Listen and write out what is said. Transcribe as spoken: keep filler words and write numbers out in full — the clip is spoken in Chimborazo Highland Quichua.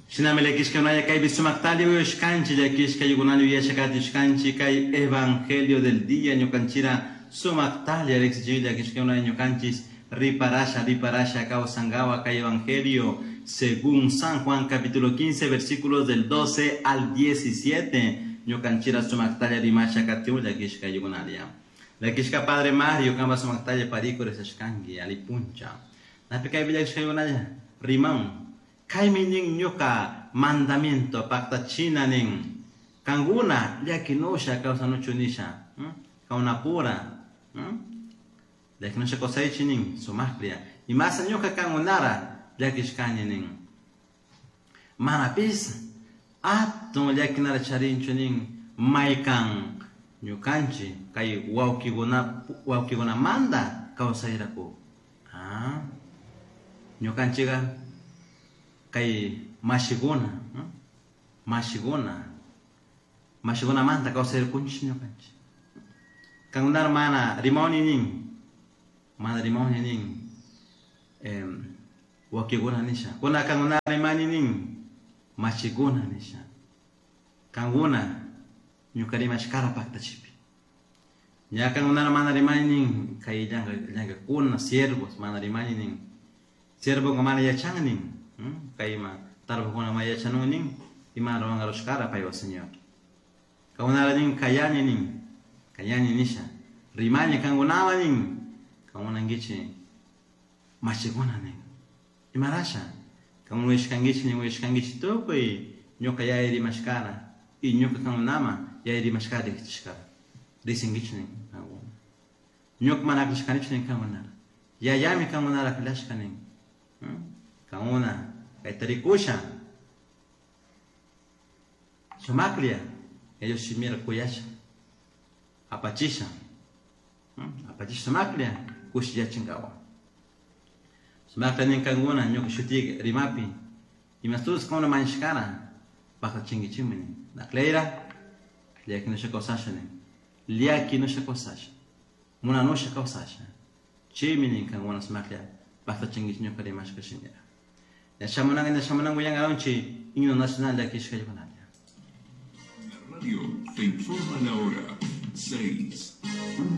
Shinami llakishka kaypi sumaktalla uyashkanchik llakishka yukunalla uyashakatishkanchik kay evangelio del día ñukanchira sumaktalla riksichik llakishka ñukanchis riparasha riparasha kawsankawa kay evangelio según San Juan capítulo quince versículos del doce al diecisiete ñukanchira sumaktalla rimasha katiun llakishka yukunalla. Llakishka Padre Mario kamba sumaktalla pariku rezashkanki alipuncha. Napi kaypi llakishka yukunalla riman. Kaymi nin ñuka mandamiento paktachina nin kankuna llakinusha kawsanuchu nisha kawnapura llakinusha kawsaychi nin sumaklla imasa ñuka kankunara llakishkani nin manapis atun llakinara charinchu nin maykan ñukanchik kay wawkikuna wawkikunamanta kawsayraku ah ñukanchikka kay mashikuna mashikuna mashikunamanta kawsaykunchik ñukanchik kankunara mana rimawni nin mana rimawni nin wawkikuna nisha kuna kankunara rimani nin mashikuna nisha kankuna ñuka rimashkara paktachipi ña kankunara mana rimani nin kay llankakuna siervos mana rimani nin siervoka mana yachan nin kayma tarpukuna mana yachanun nin ima ruwankarushkara paywa Señor kankunara nin kayani nin kayani nisha rimani kankunawan nin kankunankichik mashikuna nin imarasha kankuna uyashkankichik nin uyashkankichik tukuy ñuka yaya rimashkara y ñuka kankunama yaya rimashkara riksichishkara risinkichik nin kankuna ñuka mana aklashkanichu nin kankunara yayami kankunara aklashka nin kankuna kayta rikusha sumaklla ellos shimira kuyasha apachisha apachisha sumaklla kushiyachinkawa sumaklla nin kankuna ñuka shuti rimapi imastus kankuna mañashkara paktachinkichikmi nin aklayra llakinusha kawsasha nin llakinusha kawsasha munanusha kawsasha chaymi nin kankuna sumaklla paktachinkichik ñuka rimashka shimira ña shamunanka ña shamunanka willankaronchik himno nacional llakishka yukunalla. La radio te informa la hora seis.